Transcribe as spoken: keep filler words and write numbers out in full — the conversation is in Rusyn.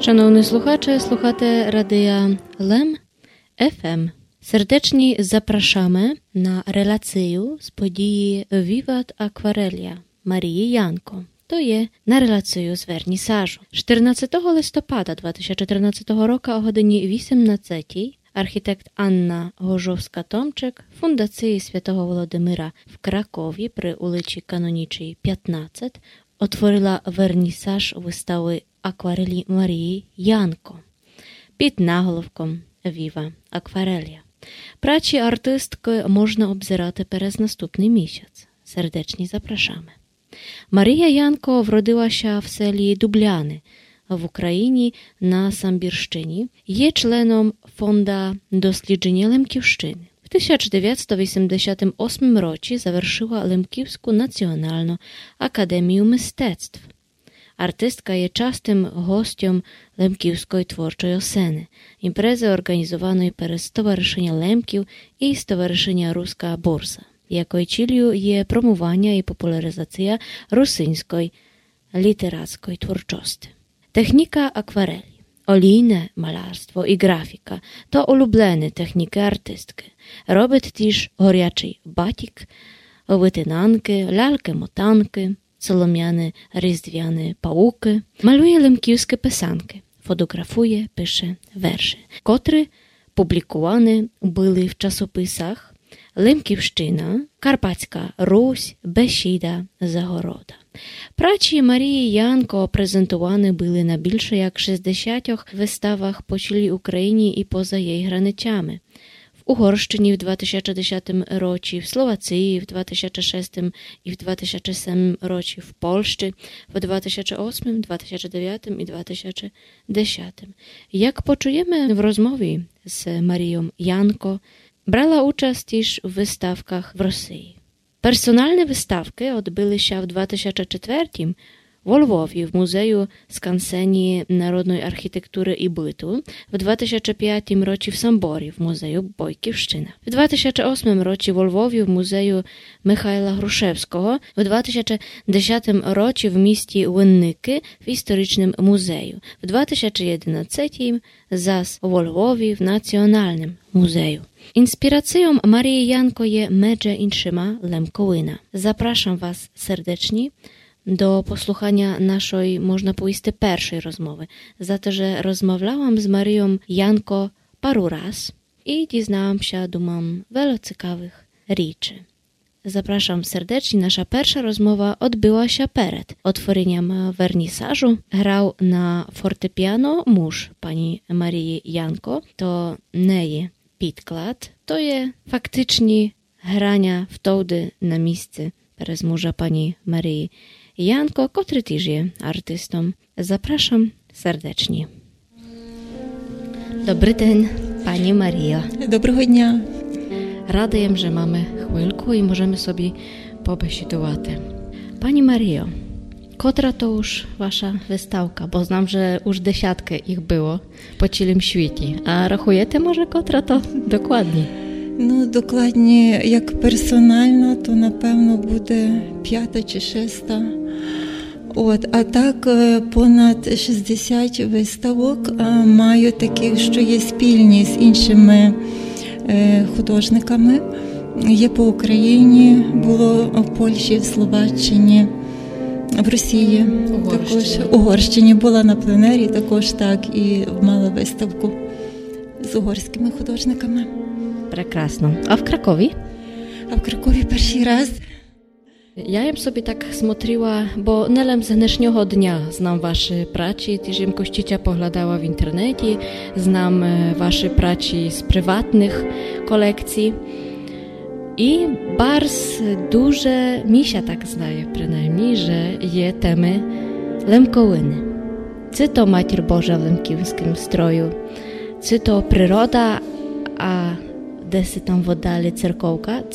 Шановні слухачі, слухате радия Лем ФМ. Сердечні запрашаме на релацию з події Віват Акварелія Марії Янко. То є на релацию з вернісажу. Штирнадцятого листопада два тисячі тринадцятого року о годині вісемнадцятій архітект Анна Гожовска-Томчик Фундациї Святого Володимира в Кракові при улици Канонічій пятнадцять отворила вернісаж выставы акварелі Марії Янко під наголовком Віва Акварелія. Працї артисткы можна обзирати перез наступный місяць. Сердечні запрашаме. Марія Янко вродила ся в селі Дубляны в Україні на Самбірщині. Є членом Фонда дослідженя Лемківщины. В тисяч девятсто вісемдесятым осмым році завершила Лемківску націоналну академію мистецтв. Артистка є частым гостьом Лемківской творчой осени, імпрезы орґанізованой перез Стоваришыня Лемків і Стоваришыня Руска бурза, якой ціллю є промуваня і популяризация русиньской літерацкой творчости. Техніка акварелі, олійне малярство і ґрафіка то улюблены технікы артисткы. Робит тіж горячый батік, вытинанкы, лялькы-мотанкы, соломяны різдвяны паукы, малює лемківскы писанкы, фотоґрафує, пише вершы, котры публікуваны были в часописах Лемківщина, Карпатська Русь, Бесіда, Загорода. Працї Марії Янко презентуваны были на більше як шістдесятьох выставах по цілій Україні і поза єй границями. В Угорщині в два тисячі десятым році, в Словациї в два тисячі шестым і в два тисячі семым році, в Польщи в два тисячі осмым, два тисячі девятым і два тисячі десятым. Як почуєме в розмові з Марієм Янко, брала участь тіж в выставках в Росиї. Персоналны выставкы одбыли ся в два тисячі четвертім во Львові в музею Скансені народной архітектуры і быту, в два тисячі пятім році в Самборі в музею Бойківщина, в два тисячі осмым році во Львові в музею Михайла Грушевского, в два тисячі десятым році в місті Винникы в історичным музею, в два тисячі єдинадцятім зас во Львові в Націоналным музею. Інспірацийом Марії Янко є, медже іншыма, Лемковина. Запрашам вас сердечні до послуханя нашой, можна повісти, першой розмовы, за то, же розмовлялам з Марієм Янко пару раз і дізнала ся, думам, вельо цікавых річы. Запрашам сердечні. Наша перша розмова одбыла ся перед отвореням вернісажу. Грав на фортепіано муж пані Марії Янко. То не є підклад, то є фактичні граня втовды на місци перез мужа пані Марії Янко, котрый тіж є артистом. Запрашам сердечні. Добрый день, пані Маріо. Доброго дня. Рада єм, же маме хвильку і можеме собі побесідувати. Пані Маріо, котра то уж ваша выставка? Бо знам, же уж десяткы їх было по цілім світі. А рахуєте, може, котра то докладні? Ну, докладні, як персонална, то, напевно, буде пята чи шеста. От, а так, е, понад шістдесят выставок, е, маю такых, што є спільні з іншыми, е, художниками. Є по Україні, было в Польщі, в Словаччині, в Росії, Угорщині. Також Угорщині. Была на пленері, також так, і мала выставку з угорськыми художниками. Прекрасно. А в Кракові? А в Кракові першый раз. Я єм собі так смотрила, бо не лем з днешнього дня знам вашы працї, тіж єм кущиця поглядала в інтернеті, знам, е, вашы працї з приватных колекцій. І барз дуже, мі ся так здає принаймні, же є темы Лемковины. Ци то Матір Божа в лемківскым строю, ци то природа, а деси там в оддалі церковка,